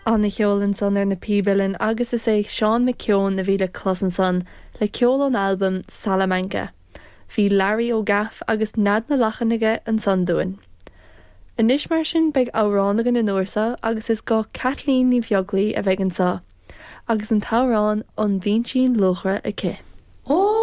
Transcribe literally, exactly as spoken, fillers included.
An-cheol ansan ar na píb uilleann agus is é Seán McKeown a bhí le clos ansan le ceol ón albam Salamanca. Bhí Larry Ó Gaff agus Nead na Lachan aige ansan dúinn. Anois mar sin beidh amhrán againn an uair seo agus is go Kathleen Ní Bheaglaoich a bheidh anseo, agus an t-amhrán An Bhinsín Luachra aici. Ó